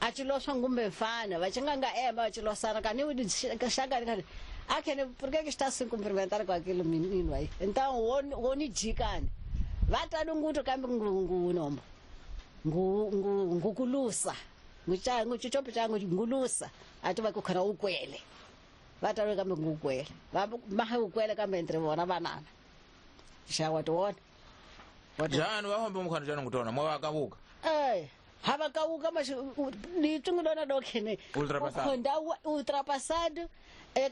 A ci loswa ngumbe mfana, va ci nga nga ema va ci losana ka ni xaka ni khani. Akhene por que que está se cumprimentar com aquele menino aí? Então wo ni jikani. Va ta lunguto kambe ngu nombo. Ngu ngu ngukulusa. Ngucha nguchichopo changu ngulusa. Ati va ku khona ukwele. Va ta kambe ngukwele. Va maha ukwele kambe entre vona vanana. Xa wa tona. Jani va hombe mukhano jani ngutona mwa vakavuka. Eh, hava kauka mas litungulona dokhene. Ultrapassado. Khonda ultrapassado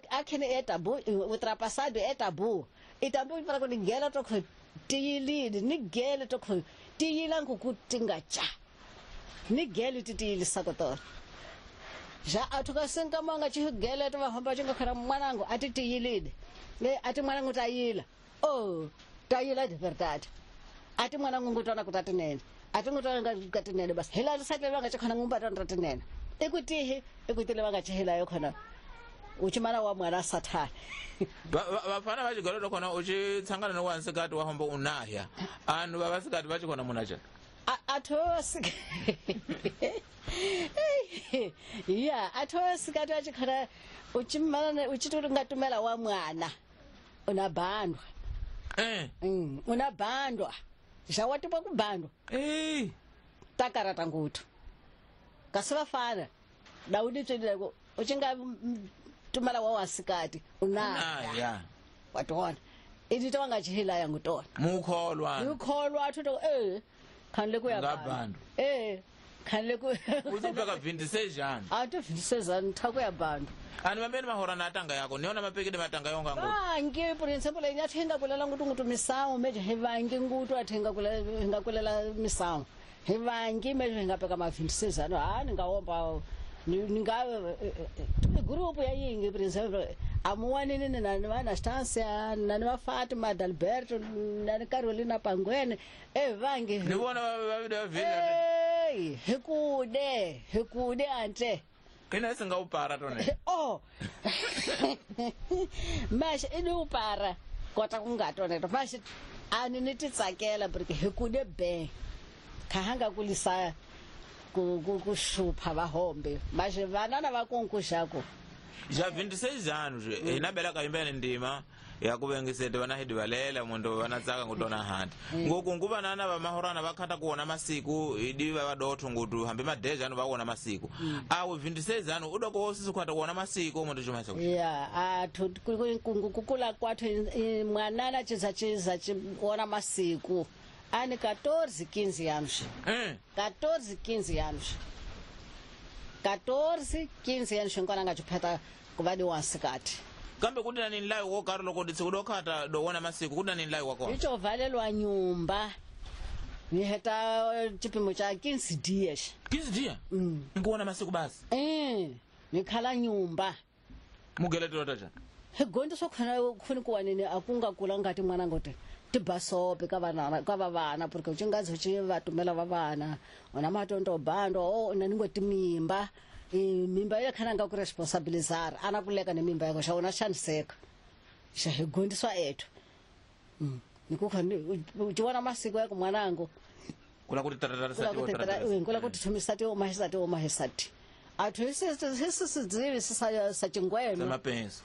akhene é tabu, ultrapassado é tabu. E tabu para ku nigela to khu tiyilini, nigela to khu tiyila ngu tinga cha. Nigela ti tiyilisa ko to. Ja athuka sinka manga chi gela to va hamba chinga khara mwanangu ati tiyilini. Le ati mwanangu tayila. Oh, tayila de verdade. Ati mwanangu ngutona kutatinene. Ati ngutona ngatinene basi. Hela satle vanga chikhona ngumba tatinene. Ekutihi, ekutile vanga chihela yo khona. Uchimana wa mwana sathana. Vafana va xigolo to khona u xi tshangana ni wansikati wa homba unahya. Anhu va vasikati va xikhona muna xa. Atho ya atho sikati va xikhona uchimana uchitori ngatumela wa mwana. Unabandwa. Eh. Unabandwa. Xa wa kubandwa. Eh. Takarata ngutu. Kasi vafana Daudi tswelile ku u xi nga tumela wa wasikati unaya. Watona. Idito nga chihila ya ngutona. Mukholwa. Mukholwa athu to khanle ku ya bandu. Eh, khanle ku uzobeka 26 jana. Athu 26 jana thaku ya bandu. Ani mambeni mahora na atanga yako niona mapekede matanga yonga ngutu. Vangi por example nya thenga kulela ngutu ngutu misawu meje he vangi ngutu athenga kulela hinga kulela misawu. He vangi meje hinga peka ma 26 jana ha ninga omba ninga group ya yingi por example amuwanini na na Anastasia na na Fatima Adalberto na Carolina Pangwene vangi ni vona va vila eh hikude ante kina singa upara tone oh mas ini upara kota kungatone mas ani ni titsakela porque hikude be khahanga kulisa ku shupha vahombe mas vanana va kunkuxako já 26 anos inabela kaimbene ndima ya kuvengisete vana hidi valela mundu vanatsaka ngutona handi ngoku nguva nana va mahorana vakhata kuona masiku idi va vadotho ngutu hambi madeja anu vaona masiku awe 26 anos udoko wosisi kukhata kuona masiku mundu chumasa ya athu kukula kwathu mwanana chiza chiona masiku ani 14 15 anos 14 15 anos 14 15 anos ngona ngachiphata kuva di wansikati kambe kuti nani nlayo wo karo loko ditsi kudokhata dowona masiku kuti nani nlayo wakona icho valelwa nyumba ni heta chipimo cha 15 dias 15 dias ngikuona masiku basi ni khala nyumba mugeletelo tacha higonto sokhona khuni kuwanini akunga kula ngati mwana ngote tibasope ka vana ka vana porque uchingazi chi vatumela va vana ona matonto bando o na ningo timimba mimba ya khana nga ku responsabilizar ana kuleka ne mimba yako xa ona xaniseka xa higondiswa ethu nikukhona uchiona masiku yako mwanangu kula kuti tatarisa kula kuti thumisa ti omahisa ti omahisati athu hisisidzivi sa chingweno samapenso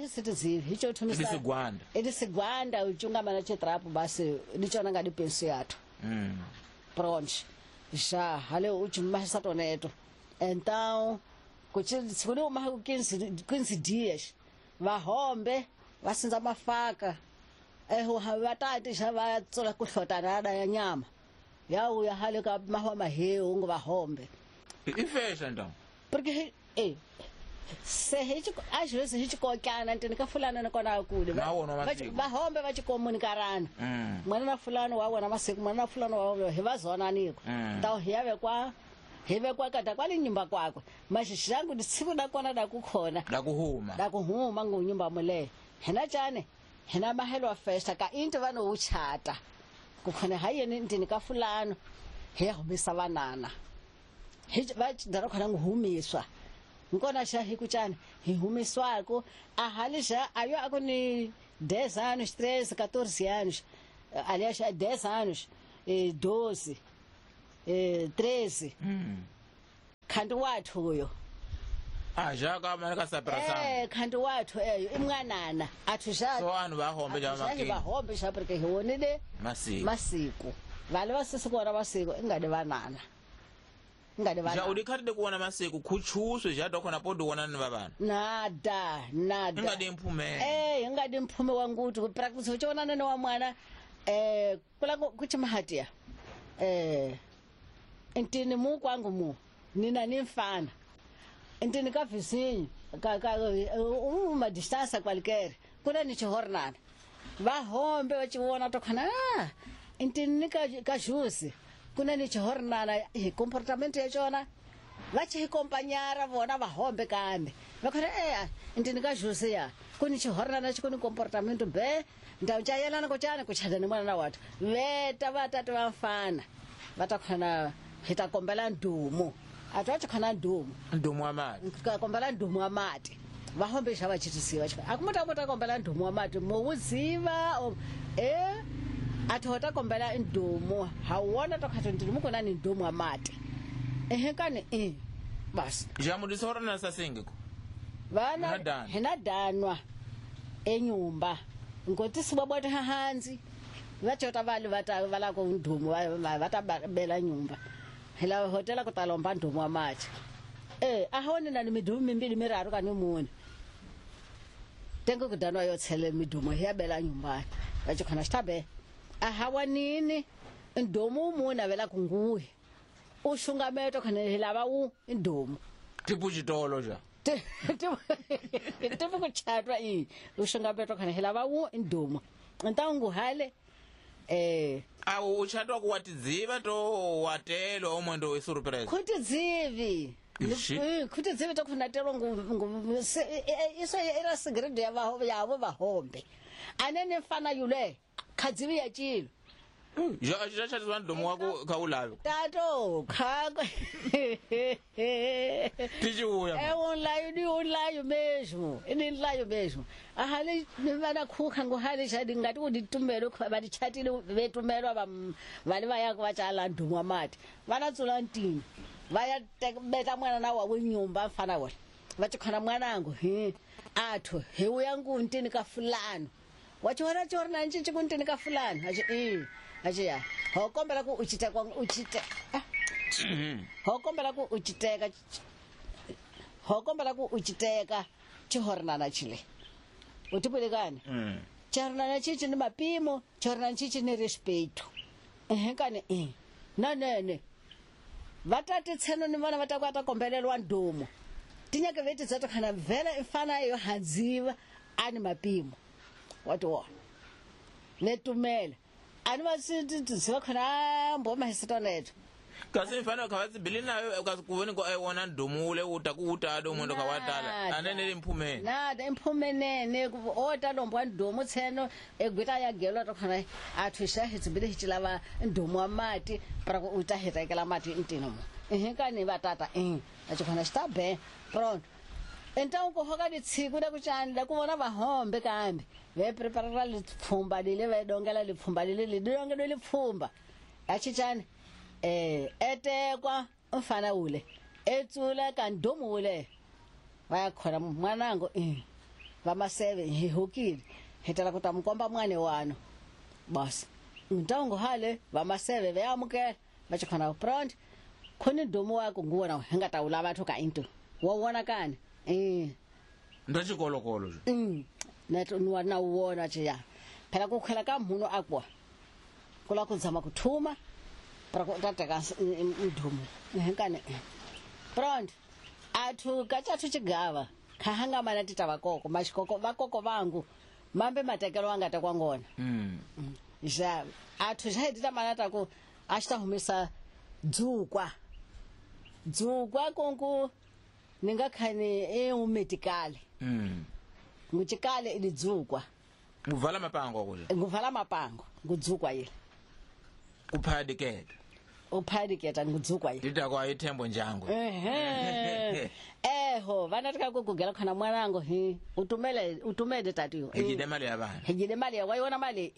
hisitidzivi hicho thumisa isigwanda isigwanda uchungamana chitrapu basi nichona ngadi penso yathu pronto já hale uchimahisa toneto então kuchiri uma 15 dias vahombe vasinza mafaka vatati xa va tsola ku hlotana ya nyama ya uya hale ka mahwa mahewu ngo vahombe ifesha então porque se às vezes a gente kokana ntini ka fulana na kona kule vahombe va chikomunikarana mwana na fulano wa wona masiku mwana na fulano wa hi va zona niko então hi ya vekwa hi vekwa kata kwale nyumba kwakwe mas xangu ndisiku nakona dakukhona dakuhuma ngunyumba mule hina chane hina mahelo festa ka into vano uchata kukhona hayeni ntini ka fulano hi ya humisa vanana hi va dara khona nguhumiswa nkona xa hi kuchana hi humiswako ahali xa ayo akuni 10 anos 13 14 anos aliás 10 anos 12 13 Khanti wathu uyo. Ja ka mane ka sapera sa. Khanti wathu eyo imwanana athu ja. So anhu va hombe ja makini. Va hombe ja porque hi wonile masiku. Masiku. Vale va sisi kuona masiku ingade vanana. Ingade vanana. Ja udikhati de kuona masiku kuchuswe ja dokona podo wona ni vavana. Nada, nada. Ingade mphume. Ingade mphume wanguti ku practice uchonana ne wa mwana kula kuchimahatia. Ntini mu kwangu mu nina nimfana. Ntini ka vizinho ka uma distância qualquer kuna ni chihornana. Va hombe va chivona to khana ntini ka jusi kuna ni chihornana hi comportamento ya chona va chi acompanhar vona va hombe kambe va khona ntini ka jusi ya kuni chihornana chi kuni comportamento be ndawu chayelana ko chana kuchada ni mwana wathu veta vatatu va mfana va ta khona hi ta kombela ndumo athu a chikhona ndumo ndumo wa mati ka kombela ndumo wa mati va hombe xa va chitisiwa akumota mota kombela ndumo wa mati mowuziva athu hota kombela ndumo hawona to khatho ndumo kona ni ndumo wa mati kani basi ja mudisora na sasingiko vana hina danwa enyumba ngoti sibabota hanzi vachota vali vata vala ko ndumo vata bela nyumba hila hotela kutalomba ndumo wa mati ahone na midumo mimbili miraru kani mune tengo kudanwa yotsele midumo yabela nyumba vachikhona xitabe ahawanini ndumo mune vela kunguwe ushungameto khona hilava u ndumo tipo xitolo ja tipo kuchatwa i ushungameto khona hilava u ndumo ntangu hale awu uchatwa kuwatidziva to watelo omwendo isurprise kutidzivi kutidzivi to khona telo ngu iso era sigrade ya yavo vahombe anene mfana yule khadzivi ya chilo ja ja chatwa ndomo wako kaulave tato khako tichiuya unlayo mesmo inilayo mesmo ahale vana khukha ngohale shadi ngati uditumelo badichatile betumelwa vale vaya vachala ndumo mati vana tsula ntini vaya beta mwana na wa nyumba mfana wona vachikhona mwanangu hi athu hi uya nguntini ka fulano wachiona chorna nchichi kuntini ka fulano achi achiya ho kombela ku uchite kwa uchite ho kombela ku uchiteka ho kombela ku uchiteka chihornana chile utipulekana chihornana chichi ni mapimo chihornana chichi ni respeito kani nanene vatati tseno ni vana vatakwata kombelelwa ndumo tinyake veti dzatokhana vhela ifana yo hadziva ani mapimo watiwona netumela ani vasidziva khona mboma hisitoneto kasi mfano khavatsi bili nayo kasi kuveni ko aiwona ndumule uta kuutado mwendo kawatala anene limphumene nada imphumenene ota lombwa ndumo tseno egwita ya gelo to khona athu xa hitsibile hichilava ndumo wa mati para ku uta hitekela mati ntino mo kani vatata achikhona xitabe pronto então ku hoka litshiku la kuchani la ku vona vahombe kambe ve preparera lipfumba lile ve dongela lipfumba lile lidongelo lipfumba achichani etekwa mfana ule etsula kandomo ule vaya khona mwanangu vamaseve hi hukile hitala kuta mkomba mwane wano basi ntango hale vamaseve veamukela vachikhona pronto khoni ndomo wako nguwona hingata ulava batho ka into wona kani ndo chikolokolo neto nwa uwona chiya phela kukhela ka mhuno akwa kula kunzama kuthuma para kutateka ndumo nkane pronto athu kachathu chigava khahanga mana tita vakoko mashikoko vakoko vangu mambe matekelo wangata kwangona ja athu jaitita mana taku ashita humisa dzukwa dzukwa konku ningakhani eumetikale nguchikale ilidzukwa nguvala mapango kuja nguvala mapango ngudzukwa ile kuphadiketa uphadiketa ngudzukwa ile nditakwa ithembo njango eho vana tikakugugela khona mwanangu hi utumele utumele tatiyo hijide mali ya vana hijide mali ya waiona mali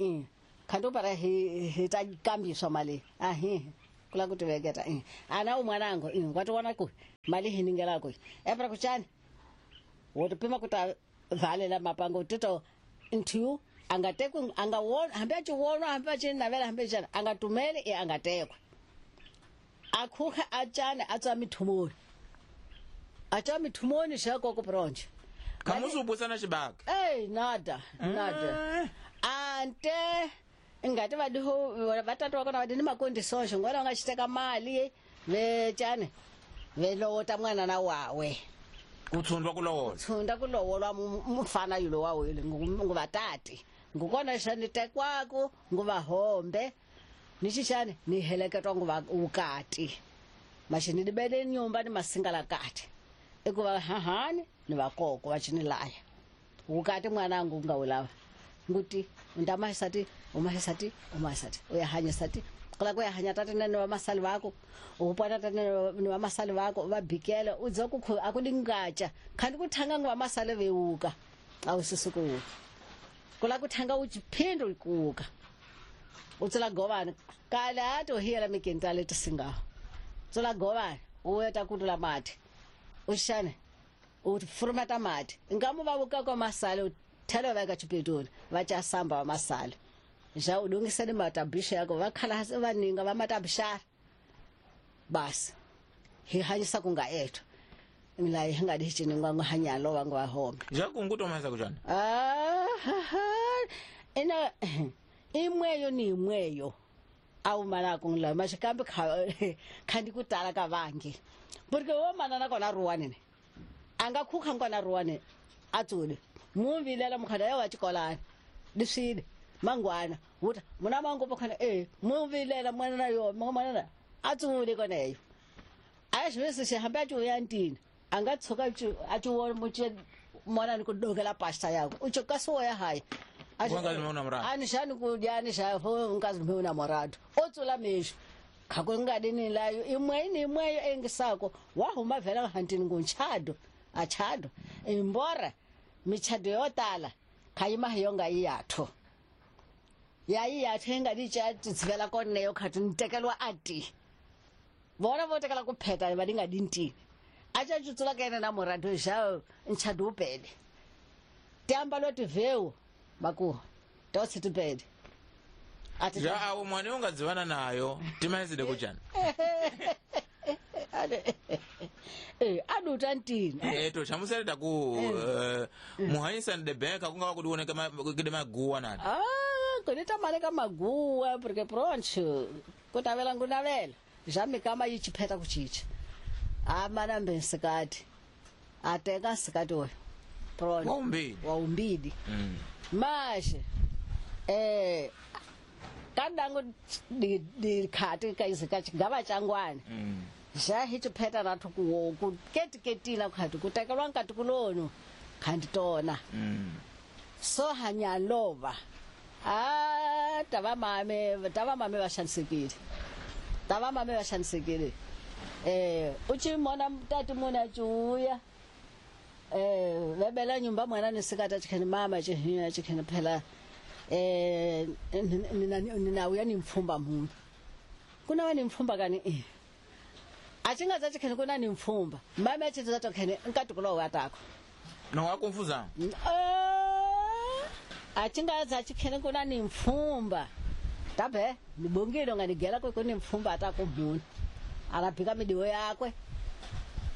khantu para hi takambiswa mali ahi kula kutiveketa ana umwanangu wationa ku Mali hiningelako epra kuchani wotopima kuta valela mapango tito nthu angatekwe angawona hambe achiwonwa hambe achinavela hambe chana angatumele e angatekwe akhukha achane atswa mithumoni atswa mithumoni shakoko bronje Kamusu ubusana xibaka. Ey nada nada ante ingati vadiho vatatu vakona vadi ni makondisoxo ngona va nga xiteka mali vecane velowota mwana na wawe Ku tshundwa ku lowola. Tshunda ku lowolwa mufana yulo wawe nguvatati ngukona xa ni tekwaku nguva hombe ni xixani ni heleketwa nguva ukati maxi ni libele nyumba ni masingala kati ikuva hahani ni vakoko va cinilaya ukati mwanangu nga wu lava nguti undamasati umasati umasati uyahanyisati kula ku ya hanya tati nene wa masali vako upwana tati nene wa masali vako va bikela udza ku akulingacha khandi kuthanga ngwa masali veuka awusisuku kula kuthanga uchiphindo ikuka utsela govani kala to hiyela mikintale tisinga tsela govani uyeta kutula mati ushane ufurumata mati ngamu vavuka kwa masali thelo veka chipetoni vachasamba masali ja udungisele matabisha yako vakhala vaninga va matabishara basi hi hanyisa kunga ethu la hi nga di chiningwa ngwahanyalo wangu wa home Ja kunguto mahisa kuchana. Ina imweyo ni imweyo au mana kungla mashikambi khandi kutala ka vangi porque wo mana na kona ruwane ne anga khukha ngona ruwane atsule muvilela mukhada ya wa chikolana diswile mangwana wuta muna mangu pokhana muvilela mwana na yo mwana atsule koneyo ayishwese shihamba achu yantini anga tsoka achu wona muche mwana ni kudokela pasta yako uchokaso ya hayi ani shani kudyani sha nkazi muna morado otsula misho khakungadi layo imwe ni imwe engisako wahuma vela hantini ngunchado achado imbora michado yotala khayima yonga iyatho yayi yatho engadi tshati tsivela koneyo khathi nitekelwa ati vona votekela kupheta badinga dintini acha tsula kene na morado ja nchado upele tamba loti veu maku totsi tupele ati ja awu mwana ungadzivana nayo timaiside kuchana aduta ntini to chamusereta ku muhanyisa de bank kunga kudiwoneka kide maguwa nani kunita maleka maguwa porque pronto kutavela ngunavela jamikama yichipheta kuchicha amana mbensikati ateka nsikati oyo pronto waumbili mashe kadango di khati kaizika chigava changwana ja hichipheta nathu ku ketiketina khati kutekelwa nkati kulono khandi tona so hanyalova tava mame va xanisekile uchimona tati muna chuya vebela nyumba mwana nisikata chikhani mama chihinya chikhani phela ninauya ni mfumba munhu kuna wa ni mfumba kani achinga za chikhani kuna ni mfumba mama achitsa tokhani nkatukulo watako no wakumfuza achinga za chikhani kuna ni mfumba tabe nibongile nganigela kwe kuni mfumba atakumuna anapika midiwo yakwe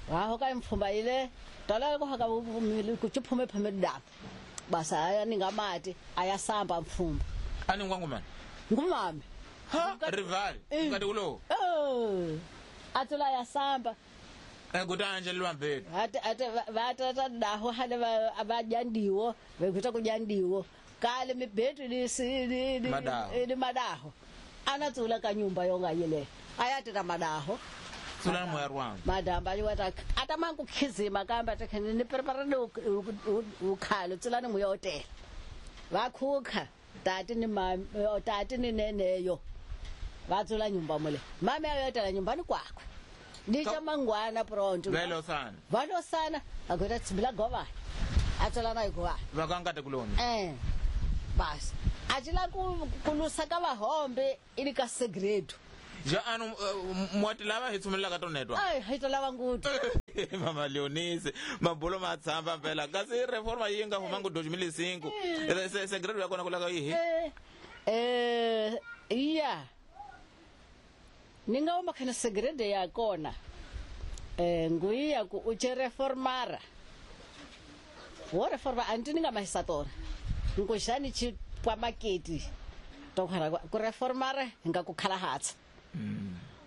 wahoka mfumba ile tola kuhaka kuchiphume phume dapo basa aya ningamati ayasamba mfumba ani ngwangumana ngumame ha rival ngati kulo atula yasamba kutanje lwambeni ate vatata daho hale abajandiwo vekuita kujandiwo kale mibhetu li madaho anatsula kanyumba yonga yile ayatita madaho tsula moya rwanga madamba yiwata atamangu khizima kamba takhani ni preparane ukhalo tsulani muyotela vakhukha tati ni mame tati ni neneyo vatsula nyumba mule mame ayotela nyumbani kwakwe ndicha mangwana pronto velosana akweta tsimbila govani atsula na igovani vakangate kuloni basi achila kulusa ka vahombe ili ka segredo ja anu mwati lava hi tsumelelaka tonetwa ai hi to lava ngutu. Mama Leonise mabulo ma tshamba phela kasi reforma yi nga humangu 2005 segredo ya kona kulaka yihi iya ni nga uma khana segredo ya kona nguya ku u che reformara wo reforma anti ni nga mahisatora nkuxani chi kwa maketi to khara ku reformara nga ku khalahatsa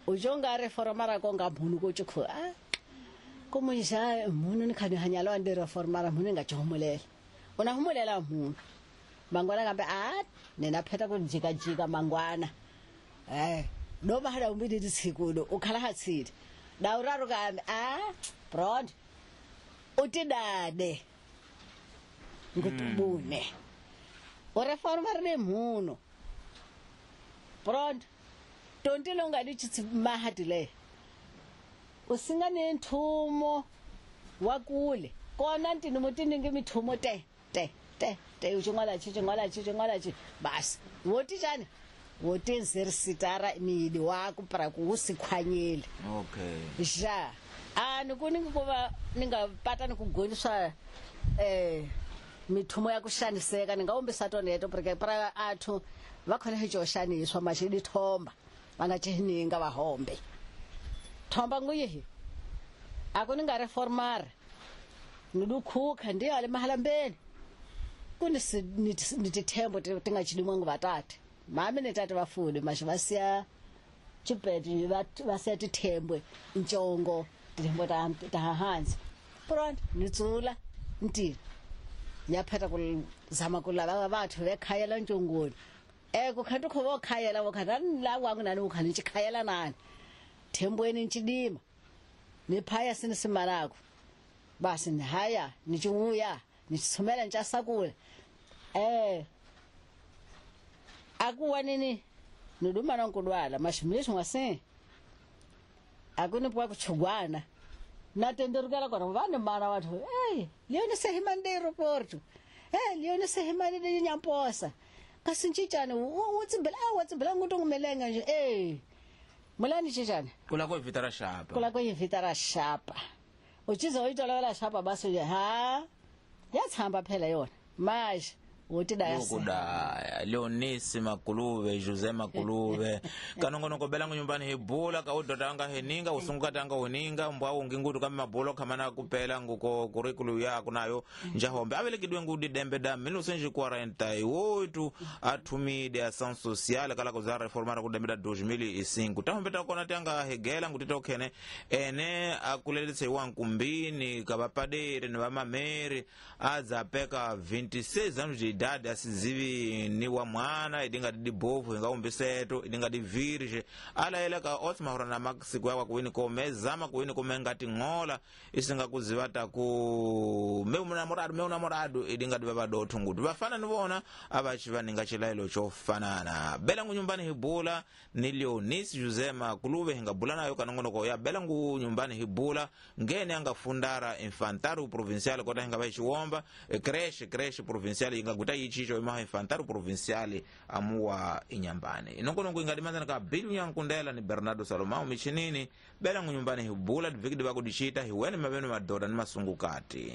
u jonga reformara ko nga mhunu ko chukhu a komunja mhunu ni khani hanyalo ande reformara mhunu nga chumulela una humulela mhunu mangwana kambe a nena pheta ku jika jika mangwana no mahala umbidi tsikulo u khalahatsile dauraru kambe a broad utidade ngutubune o reformara ne mhunu broad tontile unga di mahadile usinga ne nthumo wa kule kona ntini mutiningi mithumo te te te te uchingwala chi chingwala chi chingwala chi basi woti chani woti nzerisitara midi wako para kusikhwanyele okay ja ani kuningi kuva ninga pata ni kugoniswa mithumo ya kushaniseka ningaombisa toneto porque para athu vakhona hicho shaniswa mashidi thomba vanga chininga vahombe thomba nguyihi akuninga reformara nidukhuka ndiyo ale mahalambeni kuni nitithembo tingachidimwa nguvatate mami netate vafude mashe vasiya chipeti vasiya tithembwe nchongo tithembo tahansi pronto nitsula ntini nyapheta kuzama kulava vathu vekhayela ntshongoni kukhanti kho vokhayela vokhana la wangu nani ukhani nchikhayela nani thembweni nchidima niphaya sinisimalako basi nihaya nichiuya nichithumela nchasakula akuwa nini niduma nankudwala mashimisho ngase akunipuwa kuchugwana natenderukela kona vane mana wathu leone sehimande aeroporto leone sehimande nyamposa kasi nchichane utsimbela watsimbela nguto ngumelenga nje mulani chichane kula ko vitara shapa kula ko vitara shapa uchiza uyitola shapa basi ha yatsamba phela yona manje Kudaya Leonisi Makuluve Jose Makuluve kanongonoko belangu nyumbani hibula ka udota anga heninga usunguka anga uninga mbwa ungingutu kama mabulo kamana kupela nguko curriculum yako nayo njahombe avelekidwe ngudi dembe da 1948 athumide ação social kala kuza reformar ku dembe da 2005 tahombe takona tanga hegela ngutita ukhene ene akuleletse wankumbini kabapadere ni vamameri adzapeka 26 anos de idade asizivi ni wa mwana idinga di bovu inga umbiseto idinga di virgem ala ka otsima na masiku yakwa kuwini kome zama kuwini kome ngati ng'ola isinga kuziva taku meu namorado idinga di vavadotho nguti vafana ni vona avachi vaninga chilailo chofanana belangu nyumbani hibula ni Leonisi Jose Makuluve hingabula nayo kanongonoko ya belangu nyumbani hibula ngene angafundara infantário provincial kota hinga vachiwomba creche provincial inga guta yichicho imaha infantário provincial amuwa inyambane inongonongo ingadimanzana ka bilu nyankundela ni Bernardo Salomão michinini belangu nyumbani hibula divikidi vakudichita hiwene maveno madoda ni masungukati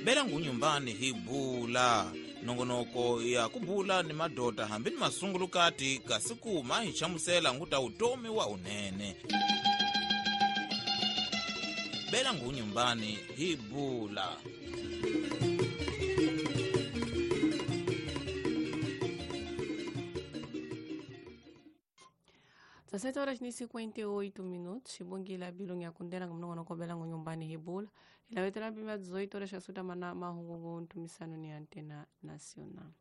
belangu nyumbani hibula nongonoko ya kubula ni madota hambi ni masungulukati kasi kuma hichamusela nguta utomi wa unene belangu nyumbani hibula. Sete horas e 58 minutos, ibongila bilungu ya kundela mnongonoko belangu nyumbani hibula ilawetela bima 18 horas asuta mana mahungu ntumisano ni Antena Nacional.